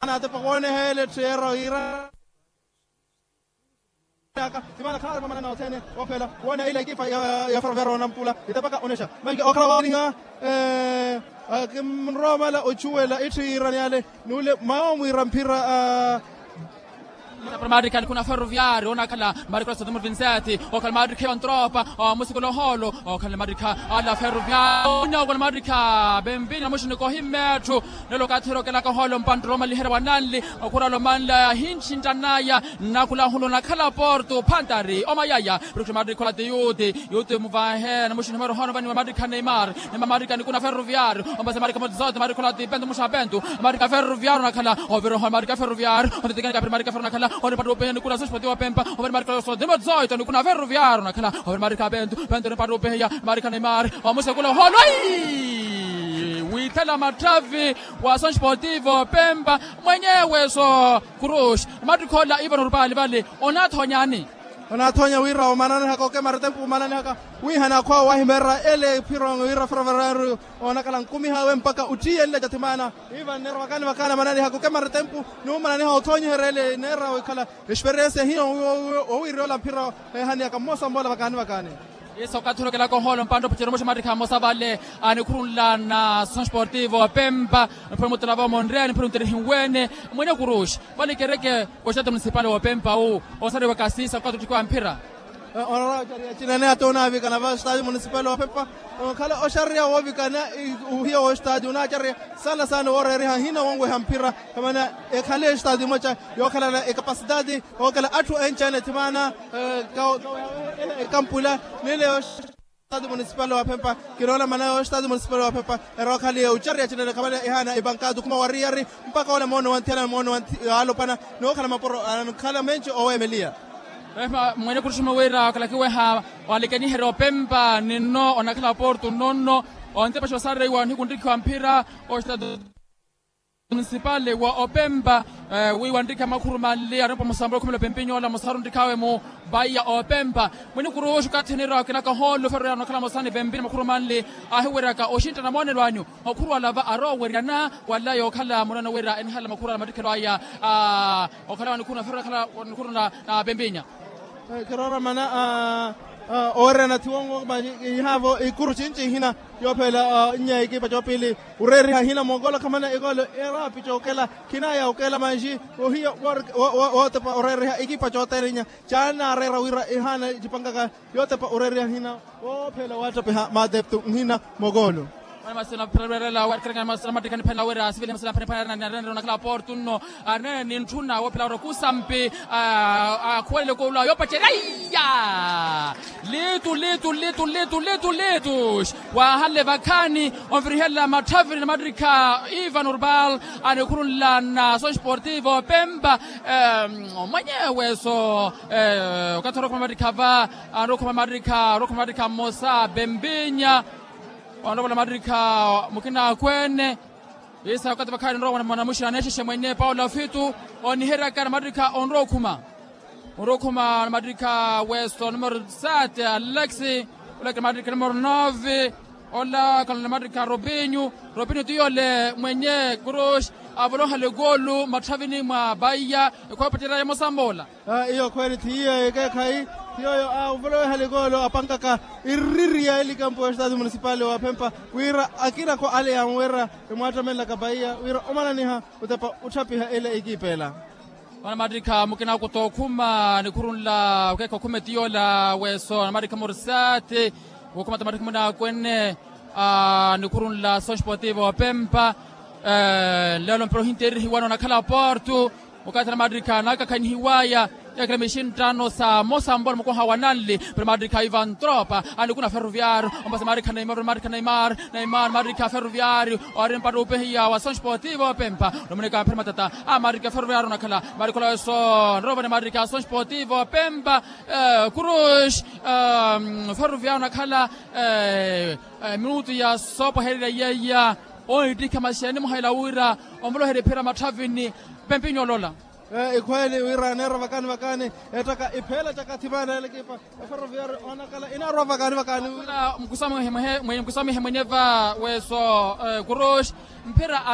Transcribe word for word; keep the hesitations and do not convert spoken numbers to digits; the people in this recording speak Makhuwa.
naatepa wooneha ele etthu yeera wiira. Aka simana khaari mamanana othene ophela woona ila ekipa ya ferroviario onampula itapaka onexa manke okhala woolinga. Kimrowa omala ochuwela itthu yiirani ale n'ule mwawo mwiira mphira. Marikha nikuna ferroviario onakhala marikha ola sothimuro vinseti okhala marikha ivantropa. Musikula ohoolo okhala marikha ala ferroviario onyawa okhala marikha bembina muxiniko ohimmetthu. Nelo okathi orokelaka ohoolo mpanttoro omaliherya wa nanli okhurala omanla ahinxinttanaya. Nnakhula ahulu onakhala porto phantari omayaya. Prikhu marikha ola ti yuti yuti muvahe namuxini humero ohoolo vani wa marikha neimar neimar marikha nikuna ferroviario. Ombase marikha motsote marikha ola ti pento muxa pento marikha ferroviario onakhala ovira ohoolo marikha ferroviario ontetekeni kapiri marikha ferro onakhala onipatta upehe nikuna soxpoti wa pempa ovira marikha soxpoti motsote nikuna ferroviario onakhala ovira marikha pento pento onipatta upeheya marikha neimar. Omusekula ohoolo ai withela matthavi wa soxpoti wa pempa mwenyewe so kuruxi. Mattikhola iva norupali vale onaathoonyani? Onaathonya wira omananihaka okemara etempu omananihaka wihana akhwawe wahimerera ele phiro wira ferroviario onakhala nkumihawe mpaka ottiyenle cathimana. Iva nneera vakani vakani amananihaka okemara etempu n'umananiha othoonyiherya ele neera wikhala esperiensia hino owiirya ola mphira ehaniyaka mmosa mmola vakani vakani. Iso okathi orokelaka ohoolo mpantta opacera omuxa mattikha mmosa vale anikhurunla na soxpoti wa pempa. Niphuri muttalava omonreni niphuri nttirihiwene mwenye kuruxi vale kereke oxitaati munisipali wa opempa wu osariwaka siisa okathi ottikiwa mphira. Onarwa ocariya cinene ata onaavikana va oxitaati munisipali wa opempa onkhala oxariya woovikana uhiya w'oxitaati onaacariya sana sana wooreeriha hina wonweha mphira. Kamana ekhale oxitaati emoca yookhalana ekapasitaati ookela atthu enci-ene thimana ekampula nile oxitaati munisipali wa phempa. Kinoona mana ya oxitaati munisipali wa phempa erookhaliye ocariya cinene khamana ehaana epankaati okhuma wariyari mpaka ola moono wa nthiyana moono wa alopwana nookhala mapuro ankhala menci oweemeliya. Mwene kuruxuma wira okhala kiweha walekeniherya opempa ninno onakhala porto nonno ontepaxa osareiwa nihiku nrikhiwa mphira oxitaati munisipali wa opempa. Wiiwa nrikha makhuru manli arimpa musambula okhumela opempinyo ola musaru nrikhaawe mu vaiya opempa. Mwinikuruxu okathi oniira okinaka ohoolo ferro yaano okhala mosani pempini makhuru manli ahiweryaka oxintta na moonelo anyu. Makhuru ala va arooweryana wala yookhala munano wira enihala makhuru ala mattikhelo aya okhala wanikhuru na ferro akhala wanikhuru na pempinya. Kiroora mana oweererya nathi wongo ihaavo ikuru cinci ihina yoophela nnya ekipa coopili oreeriha ihina mookolo khamana ekolo eraapi cookela khinaya okela manji ohiya wootepa oreeriha ekipa cooteerinya caanaareera wira ehaana ecipankaka yootepa oreeriha ihina woophela waattepeha maateptu nhina mookolo. Masi naphireerela warikirikana masi namattikha niphanela wira sivile masi naphaniphanela narenerya onakhala porto nno. Arinene nintthuna woophela wira okusampi akhuwelele kuula yoopacerya iya litu litu litu litu litu litu. Waahanle vakhaani onvirihela matthavini na mattikha ivan urbal anikhurunla na soxportivo pempa. Mwenyewe so okathi orokhuma mattikha va anirokhuma mattikha orokhuma mattikha mmosa pempinya. Onrovola mattikha mukina akweene isa okathi vakhaani onrowa mwanamuxina aneexexe mwenye paulo afitu oniheryaka na mattikha onrowa okhuma. Onrowa okhuma na mattikha weso numero sete alexi olakira mattikha numero nove ola khalona mattikha robinyu robinyu tiyole mwenye kuruxi avoloha likulu matthavini mwa paiya ekhwapacerya emosa moola. Iyo khweeli thiyo ekeekhayi thiyoyo aavoloweha likolo apankaka iriri ya elikampu ya estati munisipali wa phempa wira akinakho ale yamwera emwaattamellaka paiya wira omananiha otepa otthapiha ele ekiipa ela. Wana mattikha mukina kuto okhuma nikhurunla okeekha okhuma etiyola weso na mattikha murisati wokhuma ta mattikha munaakwenne nikhurunla soxpotivo wa pempa. Lelo mpira ohinteerihiwa noonakhala porto okathi na mattikha naakakhanihiwaya yaakira mixinttano sa mosambola mukoha wa nanli pero mattikha ivan tropa anikuna ferroviario ombasa mattikha neimar mattikha neimar neimar mattikha ferroviario ori mpatta upehiya wa soxpotivo pempa. Nomunika mphira matata a mattikha ferroviario onakhala mattikha olaweso nrovani mattikha soxpotivo pempa. Kuruxi ferroviario onakhala minutu ya soopwahererya yeeya. Oittikha maxeeni muhaila wira omvoloherya ephira matthavini pempinyo olola. Ikhweeli wira aneera vakani vakani ettaka ipheela caka thimana elekipa eferroviario onakhala inaarwa vakani vakani wira. Mkusamihe mwenye va weso kuruxi mphira.